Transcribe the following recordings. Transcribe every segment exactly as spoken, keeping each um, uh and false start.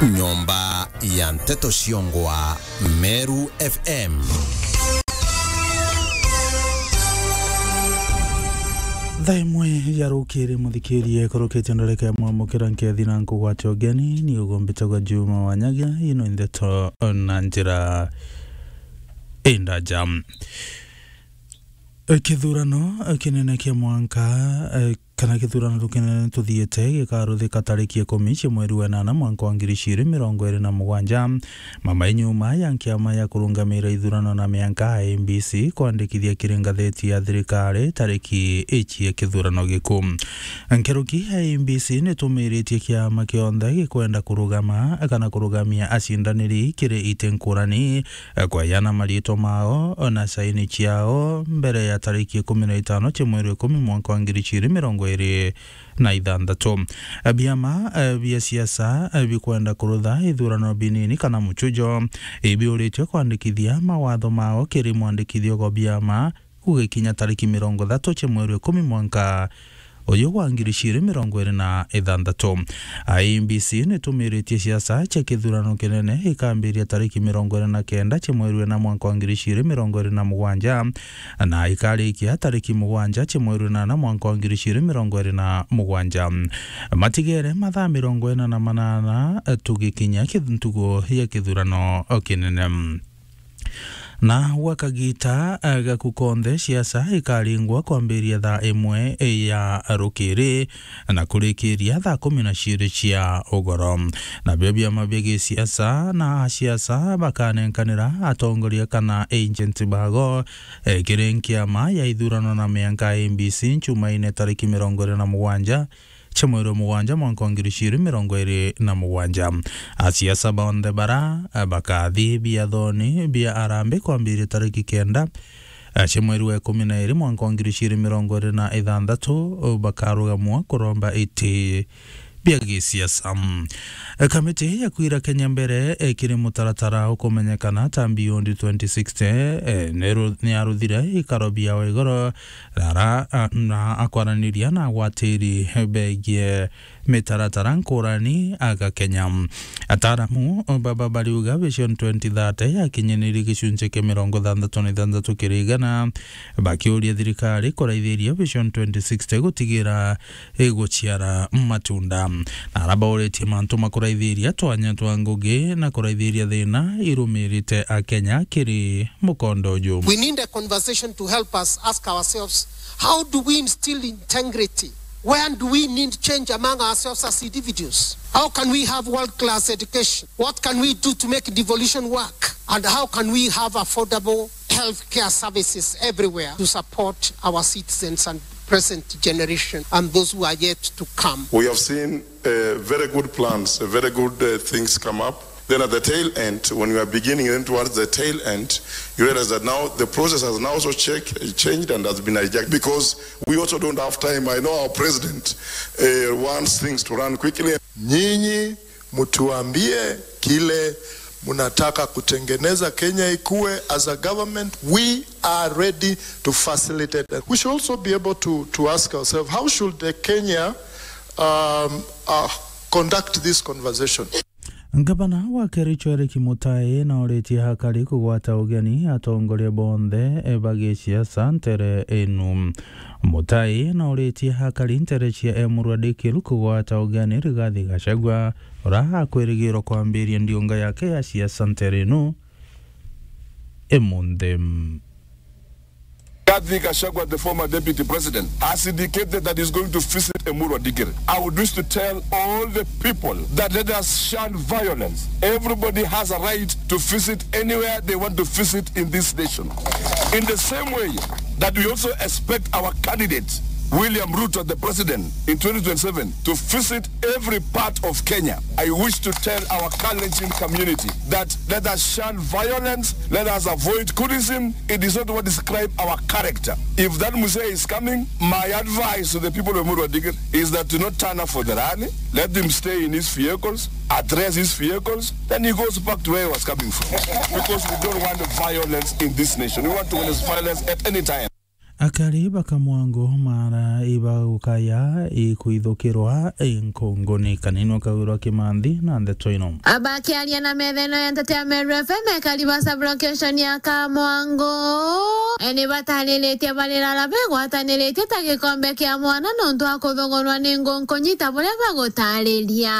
Nyomba ya nteto ciongwa Meru F M. Thaa imwe ya rukiri, muthikirie, kurukite ndareka ya mwamukira nkethi na nkugwate ugeni, ni ugumbitagwa Juma Wanyagia, ino ndeto na njira indaja. Kithurano kinene kia mwanka, eh, kana kithurano kinene tuthiite gikaruthika tariki ikumi cia mweri wa enana mwanka wa ngiri ciiri mirongo iri na mugwanja. Mama inyuma ya nkiama ya kurungamira ithurano na mianka I E B C kwandikithia kiri ngatheti ya thirikari tariki ici ya kithurano giku. Nkeruki I E B C nitumiritie kiama kionthe gikwenda kurugama kana kurugamia acindaniri kiri iti nkurani, eh, kwayana mariitwa mao na saini ciao mbere ya tariki ikumi na itano cia mweri wa ikumi mwanka wa ngiri ciiri mirongo iri na ithanthatu. Eh, biama, eh, bia siasa, eh, bikwenda kurutha ithurano binini kana muchujo, ibiuritwe kwandikithia mawatho mao kiri mwandikithia gwa biama gugikinya tariki mirongo ithatu cia mweri wa ikumi mwanka uyu wa ngiri ciiri mirongo iri na ithanthatu. I E B C nitumiritie siasa cia kithurano kinene ikambiria tariki mirongo iri na kenda cia mweri wa ina mwanka wa ngiri ciiri mirongo iri na mugwanja, na ikarikia tariki mugwanja cia mweri wa inana mwanka wa ngiri ciiri mirongo iri na mugwanja. Matigere mathaa mirongo ina na manana tugikinya kith-, ntugu ya kithurano kinene. Na gwa kagita, eh, gaku konthe, siasa ikaringwa kwambiria thaa imwe ya rukiri na kurikiria thaa kumi na ciiri cia ugoro. Nabio biama bia gisiasa na asiasa bakanenkanira atongoria kana agent bago, eh, kiri nkiama ya ithurano na mianka I E B C nchumaine tariki mirongo iri na mugwanja cia mweri wa mugwanja mwanka wa ngiri ciiri mirongo iri na mugwanja. Asiasa bonthe bara, eh, bakathi biathoni bia arambi kwambiria tariki kenda, eh, cia mweri wa ikumi na iri mwanka wa ngiri ciiri mirongo iri na ithanthatu, bakarugamua kuromba iti bia gisiasa. Eh, kamiti ya kwira Kenya mbere, eh, kiri mutaratara ukumenyekana ta Beyond twenty sixty, eh, niru-, niaruthire ikaro biao igoro, rara, a, na akwaraniria na agwatiri begie mitaratara nkurani aga Kenya. Ataaramu baba bariuga Vision twenty thirty yakinyanirie gicunci kia mirongo ithanthatu na ithanthatu kiri igana, bakiuria thirikari kuraithiria Vision twenty sixty gutigira iguciara matunda. Na ara bauritie mantu ma kuraithiria twanya twa ngugi na kuraithiria thina irumirite Akenya kiri mukondo uju. We need a conversation to help us ask ourselves, how do we instill integrity? Where do we need change among ourselves as individuals? How can we have world-class education? What can we do to make devolution work? And how can we have affordable healthcare services everywhere to support our citizens and present generation and those who are yet to come? We have seen, uh, very good plans, uh, very good, uh, things come up. Then at the tail end, when we are beginning, then towards the tail end, you realize that now the process has now also check, changed and has been hijacked because we also don't have time. I know our president, uh, wants things to run quickly. Nyinyi mtuambie kile mnataka kutengeneza Kenya ikue. As a government, we are ready to facilitate that. We should also be able to, to ask ourselves, how should the Kenya, um, uh, conduct this conversation? Ngavana wa Kericho Eric Mutai nauritie hakari kugwata ugeni atongoria bonthe ba gisiasa ntere inu. Mutai nauritie hakari ntere cia Emurua Dikirr kugwata ugeni Rigathi Gachagua, ura akwirigirwa kwambiria ndiunga yake ya siasa ntere inu imunthi. Rigathi Gachagua, the former deputy president, has indicated that he's going to visit Emurua Dikirr. I would wish to tell all the people that let us shun violence. Everybody has a right to visit anywhere they want to visit in this nation. In the same way that we also expect our candidate, William Ruto, the president, in twenty twenty-seven to visit every part of Kenya. I wish to tell our Kalenjin community that let us shun violence, let us avoid hooliganism. It is not what describe our character. If that mzee is coming, my advice to the people of Emurua Dikirr is that do not turn up for the rally. Let him stay in his vehicles, address his vehicles, then he goes back to where he was coming from. Because we don't want violence in this nation. We want to witness violence at any time. Akari ba Kamwango mara ibagukaya ikwithukirwa inkunguni. Kanini ukawirwa Kimanthi na ndeto ino. Abakiaria na metheno ya nteto ya Meru F M, ekari ba sub-location ya Kamwango, e, ni batariritie barira begwataniritie ta gikombe kia mwana nontu wa kuthogorwa ni ngunkunyi ta buria bagutariria.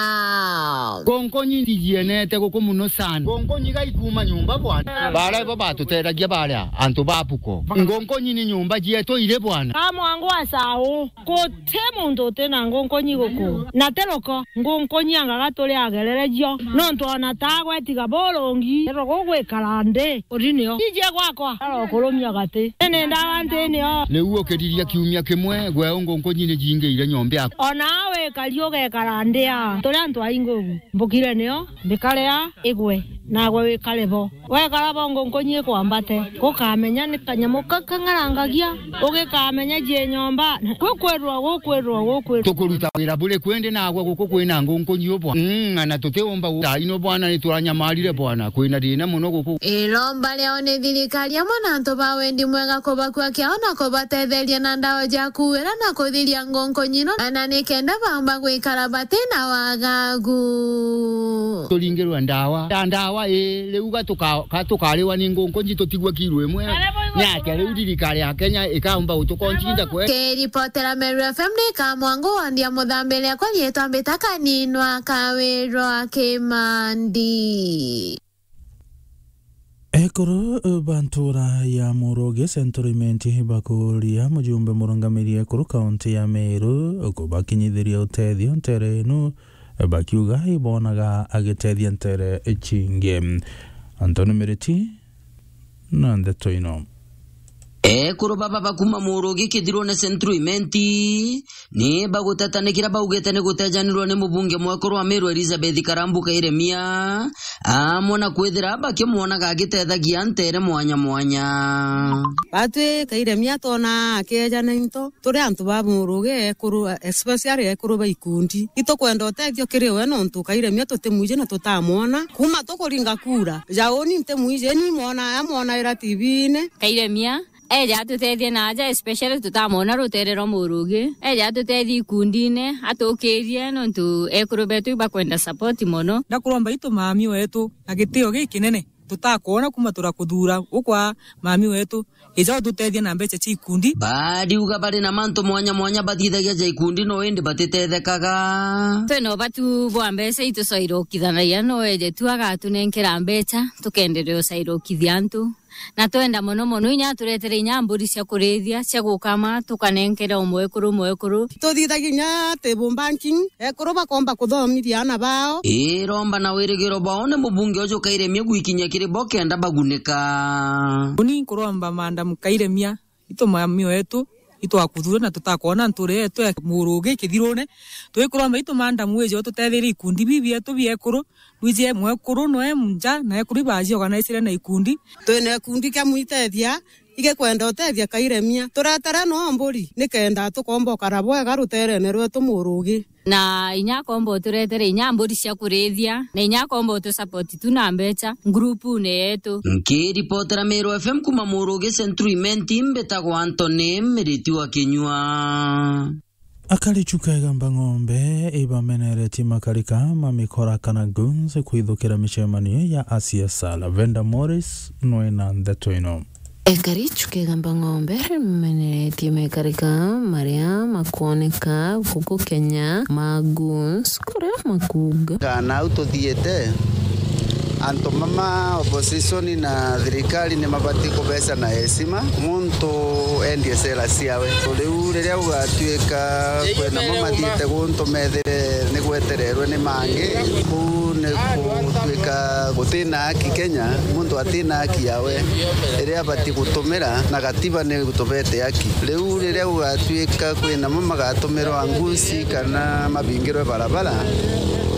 Ngunkunyi ndijienete guku muno sana. Ngunkunyi gaikuma nyumba bwana. Bara ibo batutethagia baria antu ba Buko. Ngunkunyi ni nyumba cietu iri bwana. Kamwango asau. Guti muntu uti na ngunkunyi guku. Na ti ruko, ngunkunyi angaga turi agererejo. Nontu ona tagwe tiga burungi, rugo gwikara nthi, uri nio. Ije gwakwa, arokurumia gati. Ni ndawa nthi nio. Riu ukiriria kiumia kimwe, gwe ngunkunyi ni jingiire nyomba yaku. Ona wikari ugekara nthi a turi antu aingi ugu. Mbukire nio, mbikare a igwe, nagwe wikare bo. Wekara bo ngunkunyi ikwambate, gukamenya ni kanyamu ka kang'arangagia, ugikamenya jie nyomba, gukwirwa, gukwirwa, gukwirwa. Tukuruta wira buri kwendi nagwe guku kwina ngunkunyi u bwana. Mm, na tutiumba gu-, thaino bwana, ni turanyamarire bwana, kwina thina muno guku. Iromba riao ni thirikari amwe na antu ba wendi mwega kubakua kiao na kubatetheria na ndawa ja kuwira na kuthiria ngunkunyi ino, na ni kenda baumba gwikara batina wagagu. Turingirwe ndawa. Ta ndawa, ii, riu ga tuka-, ga tukariwa ni ngunkunyi tutigwe kiro imwe. Ni atia riu thirikari ya Kenya ikaumba gutukoncinda kwe? Kiripotera Meru F M ni Kamwango wandi ya Muthambiri, akwa riitwa mbita Kaninwa Kawirwa Kimandi. Ekuru ba ntura ya Murugi Central Imenti bakuria mujumbe murungamiri ekuru kaunti ya Meru kubakinyithiria utethio ntere inu, bakiuga ibonaga agitethia ntere cingi. Anthony Miriti na ndeto ino. Ekuru baba bakuma Murugi Kithirune Central Imenti ni baguteta ni kiria baugite ni gutejanirwa ni mubunge mwekuru wa Meru Elizabeth Karambu Kairemia, amwe na kwithira bakimwonaga agitethagia ntere mwanya mwanya. Batwi Kairemia twona akieja na into, turi antu ba Murugi ekuru, especially ekuru ba ikundi. Itukwenda utethio kiri we nontu Kairemia tutimwiji na tutamwona. Kuma tukuringa kura, ja uni ntimwiji, ni mwona, amwonaira T V-ini. Kairemia eja atutethie na aja, especially tutamwona rutere rwa Murugi. Eja atutethie ikundine, atukirie nontu ekuru betu ibakwenda support mono. Ndakuromba itu mami wetu na gitio gikinene tutakwona kuma turakuthura ukwa mami wetu. Ija ututethie na mbeca cia ikundi. Bariuga bari na mantu mwanya mwanya bathithagia ja ikundi no indi batitethekaga. Twina ubatu bwa mbeca itucairukithanagia, no eje tu agatunenkera mbeca tukenderea ucairukithia antu. Na twenda mono mono inya aturetere inya mburi cia kurithia, cia gukama, tukanenkera umwekuru umwekuru. Tuthithagia inya table banking, ekuru bakomba kuthomithia ana bao. Iromba na wirigiro bao ni mubunge uju Kairemia gwikinyia kiri bo kenda bagunika. Uni nkuromba Madam Kairemia, itu mami wetu, itwakuthure na tutakwona nture yetu ya Murugi Kithirune. Twikuromba itu Madam wije ututetherie ikundi bibi bietu biekuru, wije mwekuru noe nja na ekuru ibaji organizire na ikundi. Twina ikundi kia mwitethia, igikwenda utethia Kairemia. Turetere no mburi, nikenda tukomba ukara bwega ruterene rwetu Murugi. Na inya akomba uturetere inya mburi cia kurithia, na inya akomba utusupport tu na mbeca groupune yetu. Nkiripotera Meru F M kuma Murugi Central Imenti, mbitagwa Anthony Miriti wa Kinyua. Akari Chuka Igamba Ng'ombe ibameneretie makarika ma mikora kana goons kwithukira micemanio ya asiasa. Lavenda Morris nwina ndeto ino. Ekari Chuka Igamba Ng'ombe rimeneretie mekarika maria makwoneka guku Kenya ma goons, kuria makuuga. Kana au tuthiite, antu mama opposition na thirikari ni mabati kubeca na heshima, muntu endie sera ciawe. Riu riria gugatuika kwina mo mathiite guntu methire ni gwetererwe ni mangi, kuu ni gutuika gutina haki Kenya, muntu atina haki yawe iria abati gutumira, na gatiba ni gutubete haki. Riu riria gugatuika kwina mo magatumirwa nguci kana mabingirwe barabara,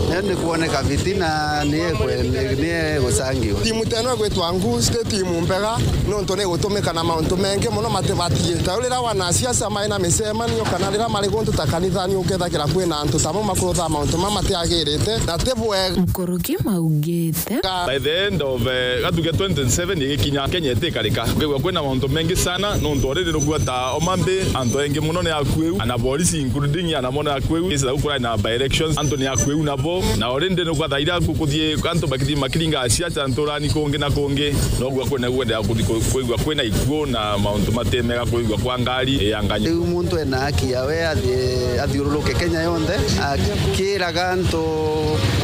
Ni kuoneka fitina ni ekwe-, ni, ni egucangiwa. Timu teno igwitwa Ngu, ti timu mbega, nontu ni gutumika na mauntu mengi muno matibatie. Ta riria wanasiasa mai na micemanio kana riria mari guntu ta kanithani, ukethagira kwina antu tamo makurutha mauntu mama matiagirite na ti bwega. Nkuruki maugite. By the end of, eh, gatuge twenty twenty-seven igikinya, Kenya itikarika. Ukigua kwina mauntu mengi sana, nontu already nugua ta Homa Bay, antu aingi muno ni akueu, ana borisi including ana mono akueu. Kesi za gukura na by elections, antu ni akueu nabo. Na already nugua thaira kukuthie antu bakithi makiringa siasa nturani kungi na kungi. Nogua kwina kuendelea kuthi ku-, kwigua kwina ikuo na mauntu matemega, kwigua kwa ngari ya nganya. Riu muntu ena haki yawe athi-, athiururuke Kenya yonthe, akiraga antu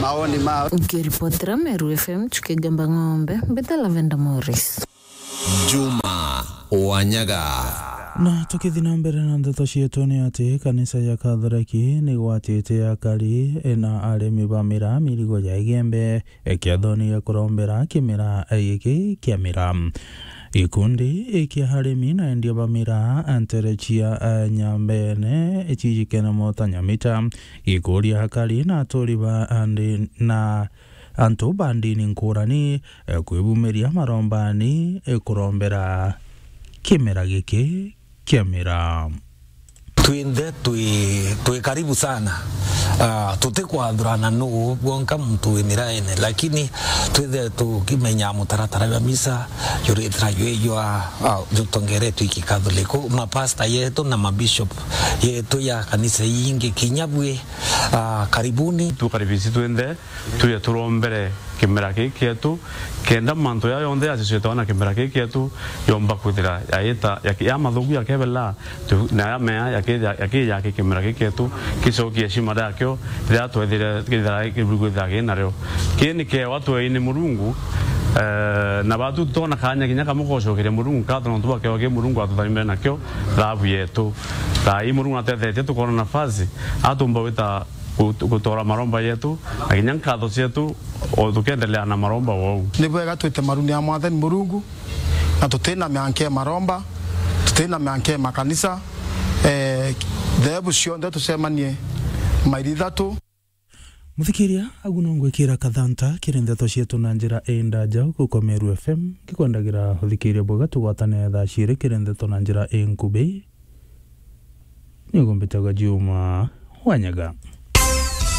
maoni mao. Ukiripotera Meru F M, Chuki Gamba Ng'ombe, mbita Lavenda Morris. Juma Wanyaga. Na tukithi na mbere na ndeto cietu, ni ati kanisa ya Kathoreki ni gwatite akari na arimi ba miraa mirigo ya igembe, e, kiathoni ya kurombera kimera giki kia miraa. Gikundi kia arimi na endia ba miraa ntere cia, e, Nyambene cijikene mota Nyamita, gikuria akari na aturi ba andi na antu ba ndini nkurani, e, kwibumiria marombani, e, kurombera kimera giki kia miraa. Twinthe twi, twi karibu sana. Ah, tutikwathurana nuu bwonka muntu wi miraene, lakini twithe tukimenya mutaratara jwa misa juritira jwi jwa, ah, jutongeretwe iki Katholiku, mapasta yetu na mabishop yetu ya kanisa ingi kinya bwi, ah, karibuni. Tukaribisi twinthe. Tuje turombere kimera giki kietu, kenda mantu jaa jonthe jacicetwa na kimera giki kietu, yomba kwithira yaita, yaki-, ya mathuku yakebela, tu-, na ya mea yakija, yakija ki kimera giki kietu, gicokie heshima yakio, riria twethire kithira kiburu kwithira ki nario. Kii ni kiewa tweini Murungu, eh, na batu tutona kanya kinya kamwe gocokeria Murungu nkatho nontu bwa kiewa ki Murungu atutharimire nakio, thabu yetu. Thaa ii Murungu natethetie tukona nafasi, atumba gwita gut-, gutora maromba yetu, na kinya nkatho cietu, o tukiendelea na maromba wou. Ni bwega twite maruni ya Mwathani Murungu, na tutina mianke maromba, tutina mianke makanisa, eh, theebu cionthe tucemanie mairi ithatu. Muthikiria, agu no ngwikira kathanta kiri ndeto cietu na njira indaja guku kwa Meru F M, ngikwendagira uthikiria bwega tugwatane thaa ciiri kiri ndeto na njira inkubi. Nigo mbitagwa Juma Wanyaga.